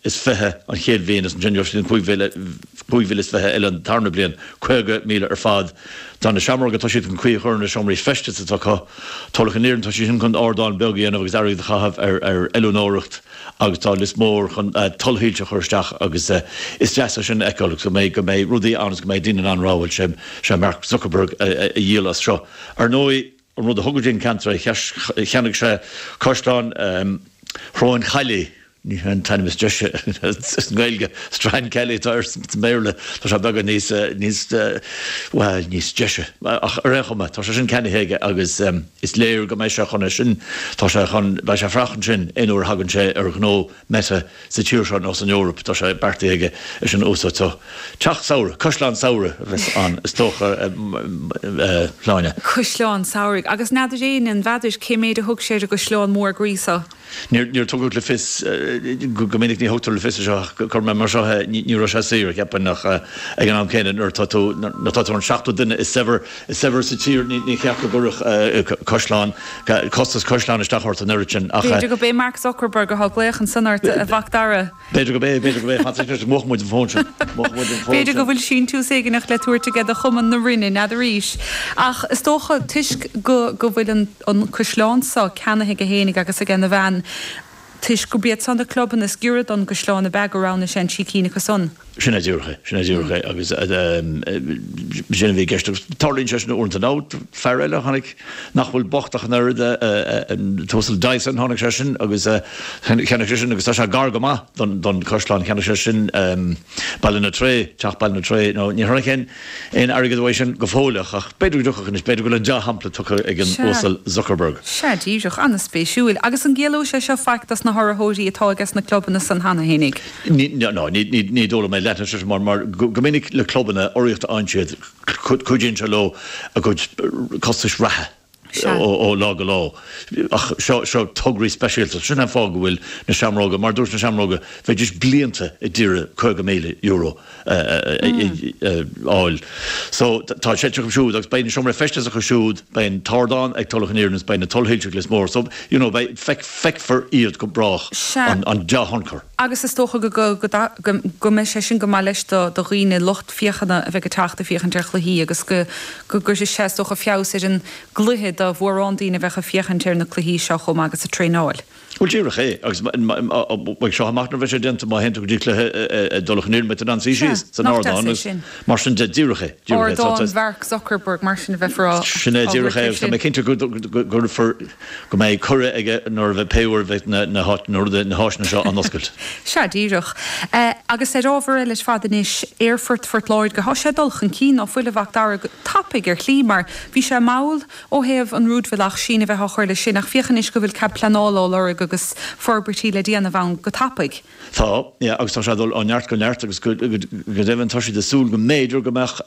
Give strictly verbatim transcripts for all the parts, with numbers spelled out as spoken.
is fiche an chéad bhliain is ansin sin cúig mhíle is fiche eile an tarna bliain caoga míle ar fad. Tá na Seamróga tá siad chun caoi a chur na seomraí feistis atá acu Tulach an Iarainn tá siad chun ardán beag a dhéanamh agus airgead a chaitheamh ar ar oiliúnóireacht agus tá Lios Mór chun tollshoilse a chur isteach agus is deas é sin a fheiceáil go mbeidh go mbeidh rudaí ann agus go mbeidh daoine in ann rá bhuel sé sé Mark Zuckerberg a dhíol as seo. Ar ndóigh an rud a thug an ceantar cheannaigh sé Caisleán Shróin Chaillí ní an t-ainm is deise sa nGaeilge Strand Kelly tá ar sa mBéarla tá sé beagán níos níos well níos deise ach ar aon chuma tá sé sin ceannaithe aige agus is léir go mbeidh sé chun é sin tá sé chun beidh sé freisin sin aon uair a thagann sé ar ghnó Meta sa tír seo nó san Eoraip tá sé beartaithe aige é sin a úsáid so teach samhraidh caisleán samhraidh a bheas ann is dócha Shláine. Caisleán samhraidh agus n'fheadar éinne an bhfeadar cé méid a thug sé ar an gcaisleán mór groí seo? Níor tugadh le fios, go minic ní thugtar le fios é seo ach cuirfidh mé mar seo é, ní raibh sé saor, cheapfainn, ach ag an am céanna nuair atá tú, nuair atá tú an seachtú duine is saibhir, is saibhir sa tír ní cheart go gcuirfeadh caisleán, costas caisleáin isteach ort an oiread sin ach. B'fhéidir go b'é Mark Zuckerberg atá ag glaoch ansan ort, a Mhac Dara. B'fhéidir go b'é, b'fhéidir go b'é, fan soicind, múchfaidh muid an fón sin, múchfaidh muid an fón sin. B'fhéidir go bhfuil síntiús éigineach le tabhairt aige do Chumann na Rinne, n'fheadar arís. Ach is dócha, toisc go go bhfuil an an caisleán seo ceannaithe aige fhéinig agus ag a bhean, toisc gurb iad san na clubanna is giorra don gcaisleán ab ea gur roghnaigh sé an trí cinn acu san. Sin é díreach é, sin é díreach é agus sin a bhí i gceist agus tarlaíonn sé sin uaireanta. Nó fear eile a tháinig nach bhfuil bocht ach an oiread, an tUasal Dyson, tháinig sé sin agus cheannaigh sé sin agus tá sé gar go maith don chaisleán, cheannaigh sé sin Ballynatray, teach Ballynatray, nó ní tháinig aon aon airgead uaidh sin go fóilleach ach b'fhéidir go dtiocfadh anois, b'fhéidir go bhfuil an dea-shampla tugtha ag an Uasal Zuckerberg. Sea, díreach, an-spéisiúil. Agus an gciallóidh sé seo faic dos na hurraitheoirí atá aige na clubanna san cheana fhéinig? Ní, no, ní, ní, ní dóigh liom é leathnú sé mar, mar go minic le clubanna urraíocht a fhaigheann siad, cuidíonn sé leo a gcuid costais reatha ó lá go lá. Ach seo, seo tograí speisialta. Sin an fáth go bhfuil na Seamróga, mar dúirt na Seamróga, bheidís blianta ag iarraidh caoga míle euro a fháil. So tá sé acu siúd agus beidh na seomraí feistis acu siúd, beidh an t-ardán ag Tulach an Iarainn agus beidh na tollshoilse ag Lios Mór. So, you know, beidh, feicfear iad go brách, an dea-thionchar. Agus is dócha go, go, go, go mbeidh sé sin go maith leis do, do dhaoine, lucht féachana a bheidh ag teacht ag féachaint ar chluichí agus go, go gcuirfidh sé is dócha feabhas ar an gcluiche do mhórán daoine a bheadh ag féachaint ar na cluichí seo chomh maith agus ag traenáil. Bhuel díreach é, agus beidh seo amach nuair a bheidh sé déanta má théann tú go dtí cluiche i dTulach an Iarainn beidh tú in ann suí síos san ardán agus mar sin de, díreach é, díreach é. Ardán Mhark Zuckerberg mar sin a bheifear á Sin é, díreach é, agus tá mé cinnte go gcuirfear, go mbeidh cuireadh aige nuair a bheidh, pé uair a bheidh na háiteanna seo á n-oscailt. Sea, díreach. Agus ar ábhar eile ar fad anois, Aerfort Phort Láirge, tá sé ag dul chun cinn, ná fuil, a Mhac Dara, go tapaidh ar shlí, mar bhí sé mall ó thaobh an rúidbhealach síneadh a bheith á chur leis sin, ach féach anois go bhfuil cead pleanála á lorg agus forbairtí le déanamh ann go tapaidh. Tá, yeah, agus tá sé ag dul ó neart go neart agus go deimhin tá siad ag súil go mb'fhéidir go mbeadh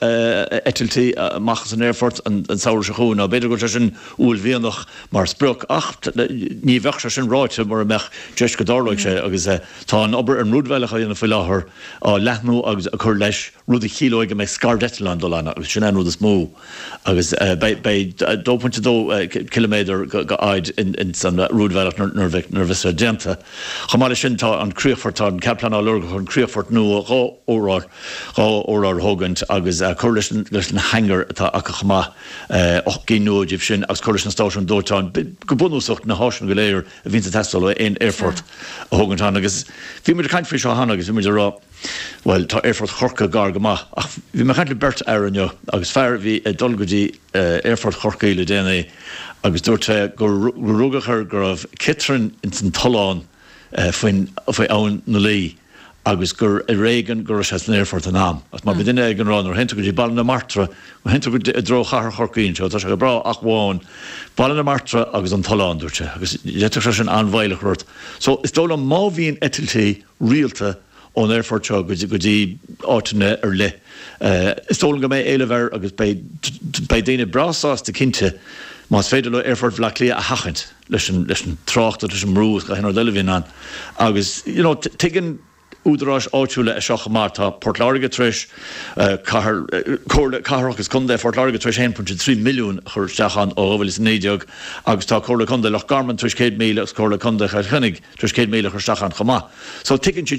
eitiltí amach as an aerfort an samhradh seo chugainn. Nó b'fhéidir go bhfuil sé sin uaillmhianach mar sprioc ach ní bheadh sé sin ráite mura mbeadh deis go dtarlóidh sé agus tá an obair ar an rúidbhealach á dhéanamh faoi láthair, á leathnú agus á cur leis, rud a chiallóidh go mbeidh scairdeitleáin ag dul ann agus sin é an rud is mó. Agus beidh dó pointe dó ciliméadar go fhaid ins an rúidbhealach nuair a bheas sé déanta. Chomh maith leis sin tá an críochfort, tá an cead pleanála á lorg chun críochfort nua dhá urlár, dhá urlár a thógaint agus cur leis na hangair atá acu chomh maith, ocht gcinn nua díobh sin agus cur leis na stáisiúin dóiteáin, go bunúsach na háiseanna go léir a bhíonns ag teastáil ó aon aerfort a thógaint ann. Agus bhí muid ag caint faoi seo cheana agus bhí muid ag rá, Bhuel, tá Aerfort Chorcaí gar go maith, ach bhí mé ag caint le beirt fhear inniu agus fear a bhí ag dul go dtí Aerfort Chorcaí le déanaí agus dúirt sé gur rugadh air go raibh ciotrainn ins an tollán faoin faoi Abhainn na Laoi agus gur ar éigean go raibh sé san aerfort in am. Agus mar bhí duine ag rá nuair a théann tú go dtí Baile na Martra, nuair a théann tú go i dtreo chathair Chorcaí anseo, tá sé go breá ach amháin Baile na Martra agus an tollán, dúirt sé, agus d'fhéadfadh sé sin an-mhoill a chur ort. So is dóigh liom má bhíonn eitiltí rialta ón aerfort seo go dtí áiteanna ar leith. Is dóigh liom go mbeidh éileamh air agus beidh beidh daoine breá sásta cinnte más féidir leo Aerfort Bhaile Átha Cliath a sheachaint leis an leis an trácht agus leis an mbrú agus gach aon rud eile a bhíonn ann. Agus you know tuigeann údaráis áitiúla é seo chomh maith. Tá Port Láirge tar éis cathair Comhairle Cathrach agus Contae Phort Láirge tar éis a haon pointe trí milliún a chur isteach ann ó dhá mhíle is a naoi déag agus tá Comhairle Contae Loch Garman tar éis céad míle agus Comhairle Contae Chill Chainnigh tar éis céad míle a chur isteach ann chomh maith. So tuigeann siad